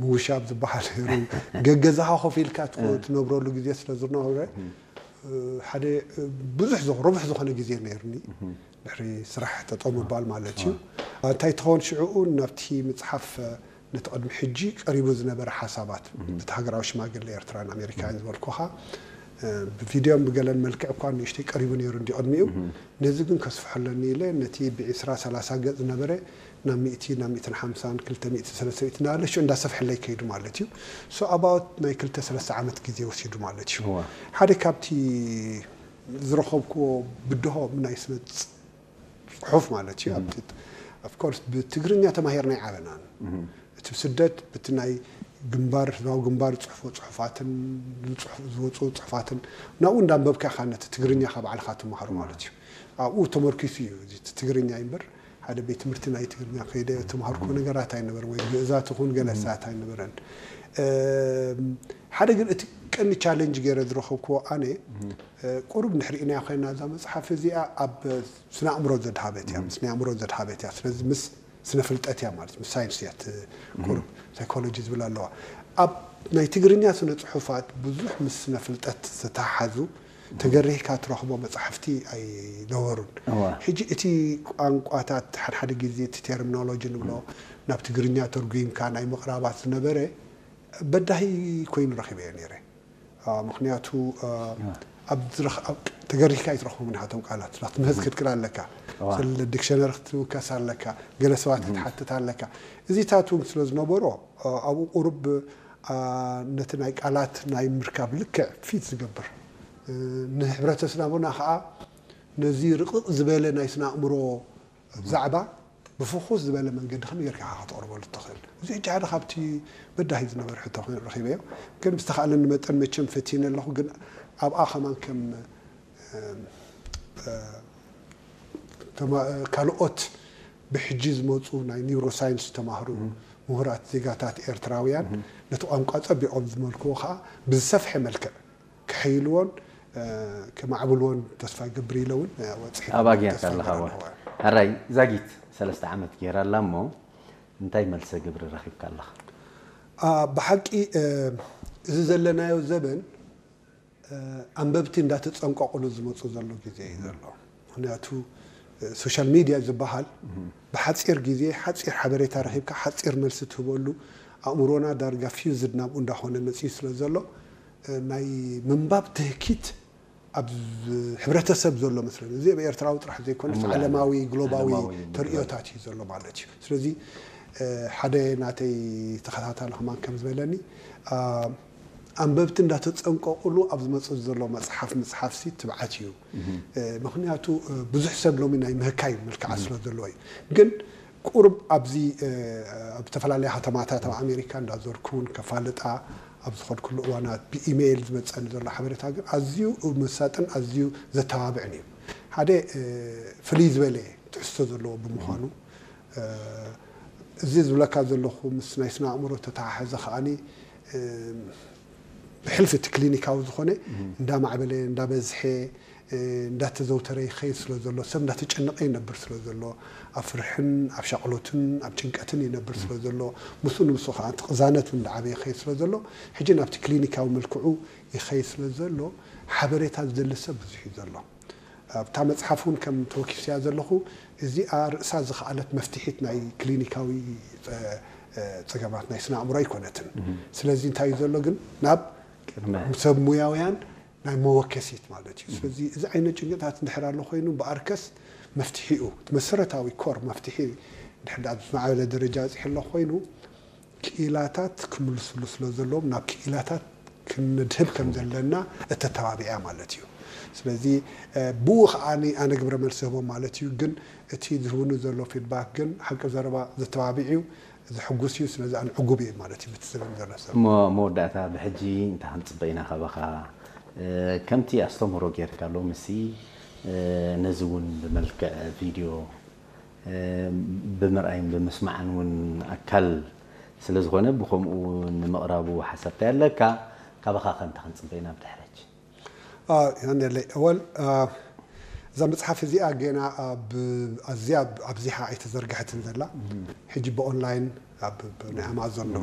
ምውሻብ ዝበሃል ነይሩ። ገገዛኻ ኮፍ ኢልካ ትነብረሉ ግዜ ስለ ዝነበረ ሓደ ብዙሕ ረቡሕ ዝኾነ ግዜ ነይርኒ። ድሕሪ ስራሕ ጠጠው ምባል ማለት እዩ። እንታይ ትኸውን ሽዕኡ ናብቲ መፅሓፍ ነቲ ቅድሚ ሕጂ ቀሪቡ ዝነበረ ሓሳባት እቲ ሃገራዊ ሽማግለ ኤርትራን ኣሜሪካን ዝበልኩኻ ብቪድዮን ብገለን መልክዕ እኳ ንእሽተይ ቀሪቡ ነይሩ እንዲ ቅድሚኡ። ነዚ ግን ከስፍሖ ኣለኒ ኢለ ነቲ ብ20 30 ገጽ ዝነበረ ናብ ሚእቲ ናብ ሚእትን ሓምሳን ክልተ ሚእቲ ሰለስተ ሚእቲ እናበለ ሽዑ እንዳሰፍሐለይ ከይዱ ማለት እዩ። So about ናይ ክልተ ሰለስተ ዓመት ግዜ ወሲዱ ማለት እዩ። ሓደ ካብቲ ዝረኸብክዎ ብድሆ ናይ ስነ ጽሑፍ ማለት እዩ። ኣብቲ of course ብትግርኛ ተማሂርና ኣይዓበናን። እቲ ስደት ብቲ ናይ ግንባር ህዝባዊ ግንባር ዝፅሕፎ ፅሑፋትን ዝወፁ ፅሑፋትን ናብኡ እንዳንበብካ ኢኻ ነቲ ትግርኛ ካብ ባዕልኻ ትመሃሩ ማለት እዩ። ኣብኡ ተመርኪሱ እዩ እዚ ትግርኛ እምበር ሓደ ቤት ትምህርቲ ናይ ትግርኛ ከይደ ተምሃርኩ ነገራት ኣይነበረ ወይ ግእዛት ይኹን ገለሳት ኣይነበረን። ሓደ ግን እቲ ቀኒ ቻለንጅ ገይረ ዝረኸብክዎ ኣነ ቁሩብ ንሕርኢና ኮይና እዛ መፅሓፍ እዚኣ ኣብ ስነ ኣእምሮ ዘድሃበት እያ፣ ምስ ናይ ኣእምሮ ዘድሃበት እያ። ስለዚ ምስ ስነ ፍልጠት እያ ማለት ምስ ሳይንስ እያ ቁሩብ ሳይኮሎጂ ዝብል ኣለዋ። ኣብ ናይ ትግርኛ ስነ ፅሑፋት ብዙሕ ምስ ስነ ፍልጠት ዝተሓሓዙ ተገሪህካ ትረኽቦ መፅሓፍቲ ኣይነበሩን። ሕጂ እቲ ቋንቋታት ሓድሓደ ግዜ እቲ ቴርሚኖሎጂ ንብሎ ናብ ትግርኛ ተርጉምካ ናይ ምቕራባት ዝነበረ በዳሂ ኮይኑ ረኺበዮ ነይረ። ምክንያቱ ተገሪህካ ኣይትረኽቦም ናቶም ቃላት ምህዝ ክትክል ኣለካ። ስለ ዲክሸነሪ ክትውከስ ኣለካ፣ ገለ ሰባት ክትሓትት ኣለካ። እዚታት እውን ስለ ዝነበሮ ኣብኡ ቁሩብ ነቲ ናይ ቃላት ናይ ምርካብ ልክዕ ፊት ዝገብር ንሕብረተሰብና ከዓ ነዚ ርቕቕ ዝበለ ናይ ስነ ኣእምሮ ዛዕባ ብፍኹስ ዝበለ መንገዲ ከመይ ጌርካ ኢኻ ከተቕርበሉ እትኽእል? እዚ ሕጂ ሓደ ካብቲ በዳሂ ዝነበረ ሕቶ ኮይኑ ረኺበዮ። ግን ብዝተኻእለኒ መጠን መቸም ፈቲነ ኣለኹ። ግን ኣብኣ ከማን ከም ካልኦት ብሕጂ ዝመፁ ናይ ኒውሮሳይንስ ዝተማህሩ ምሁራት ዜጋታት ኤርትራውያን ነቲ ቋንቋ ፀቢቖም ዝመልክዎ ከዓ ብዝሰፍሐ መልክዕ ከሕይልዎን ከማዕብልዎን ተስፋ ይገብር ኢለ እውን ወፅሒት ኣብ ኣግያት ኣለኻ። ሕራይ ዛጊት ሰለስተ ዓመት ገይራ ኣላ እሞ እንታይ መልሰ ግብሪ ረኺብካ ኣለኻ? ብሓቂ እዚ ዘለናዮ ዘበን ኣንበብቲ እንዳተፀንቀቑሉ ዝመፁ ዘሎ ግዜ እዩ ዘሎ። ምክንያቱ ሶሻል ሚድያ ዝበሃል ብሓፂር ግዜ ሓፂር ሓበሬታ ረኺብካ ሓፂር መልሲ ትህበሉ ኣእምሮና ዳርጋ ፊውዝድ ናብኡ እንዳኾነ መፅዩ ስለ ዘሎ ናይ ምንባብ ትህኪት ኣብ ሕብረተሰብ ዘሎ መስለኒ። እዚ ኣብ ኤርትራዊ ጥራሕ ዘይኮነስ ዓለማዊ ግሎባዊ ተርእዮታት እዩ ዘሎ ማለት እዩ። ስለዚ ሓደ ናተይ ተኸታታሊ ከማን ከም ዝበለኒ ኣንበብቲ እንዳተፀንቀቑሉ ኣብ ዝመፅእ ዘሎ መፅሓፍ ምፅሓፍሲ ትብዓት እዩ። ምክንያቱ ብዙሕ ሰብ ሎሚ ናይ ምህካይ ምልክዓት ስለ ዘለዎ እዩ። ግን ቁሩብ ኣብዚ ኣብ ዝተፈላለያ ከተማታት ኣብ ኣሜሪካ እንዳዞርኩ እውን ከፋልጣ ኣብ ዝኸድኩሉ እዋናት ብኢሜይል ዝመፀኒ ዘሎ ሓበሬታ ግን ኣዝዩ መሳጥን ኣዝዩ ዘተባብዕን እዩ። ሓደ ፍልይ ዝበለ ትሕዝቶ ዘለዎ ብምዃኑ እዚ ዝብለካ ዘለኹ ምስ ናይ ስነ ኣእምሮ ተተሓሓዘ ከዓኒ ብሕልፊ እቲ ክሊኒካዊ ዝኾነ እንዳማዕበለ እንዳበዝሐ እንዳተዘውተረ ይኸይድ ስለ ዘሎ ሰብ እንዳተጨነቐ ይነብር ስለ ዘሎ ኣብ ፍርሕን ኣብ ሻቕሎትን ኣብ ጭንቀትን ይነብር ስለ ዘሎ ምስኡ ንምስኡ ከዓ እቲ ቅዛነት እውን እንዳዓበየ ይኸይድ ስለ ዘሎ ሕጂ ናብቲ ክሊኒካዊ መልክዑ ይኸይድ ስለ ዘሎ ሓበሬታ ዝደሊ ሰብ ብዙሕ እዩ ዘሎ። ኣብታ መፅሓፍ እውን ከም ተወኪስያ ዘለኹ እዚኣ ርእሳ ዝኸኣለት መፍትሒት ናይ ክሊኒካዊ ፀገማት ናይ ስነ ኣእምሮ ኣይኮነትን። ስለዚ እንታይ እዩ ዘሎ ግን ናብ ሰብ ሙያውያን ናይ መወከሲት ማለት እዩ። ስለዚ እዚ ዓይነት ጭንቅታት እንድሕር ኣሎ ኮይኑ ብኣርከስ መፍትሒኡ እቲ መሰረታዊ ኮር መፍትሒ እንድሕር ዝማዕበለ ደረጃ በፂሑ ኣሎ ኮይኑ ክኢላታት ክምልስሉ ስለ ዘለዎም ናብ ክኢላታት ክንድህብ ከም ዘለና እተተባቢዐ ማለት እዩ። ስለዚ ብኡ ከዓ ኣነ ግብረ መልሲ ህቦም ማለት እዩ። ግን እቲ ዝህብኒ ዘሎ ፊድባክ ግን ሓቂ ዘረባ ዘተባቢዕ እዩ፣ ዘሕጉስ እዩ። ስለዚ ኣነ ዕጉብ እየ ማለት እዩ። ብቲ ዝህብኒ ዘሎ ሰብ እሞ መወዳእታ ብሕጂ እንታይ ክንፅበ ኢና ካባኻ? ከምቲ ኣስተምህሮ ጌርካ ሎምሲ ነዚ እውን ብመልክዕ ቪድዮ ብምርኣይን ብምስማዕን እውን ኣካል ስለ ዝኾነ ብኸምኡ ንምቕራቡ ሓሳብታይ ኣለካ? ካባኻ ከ እንታይ ክንፅበ ኢና ብድሕረች? ዮሃንለይ እወል እዛ መፅሓፍ እዚኣ ገና ኣዝያ ኣብዚሓ ኣይተዘርግሐትን ዘላ ሕጂ ብኦንላይን ናይ ኣማዞን ዶ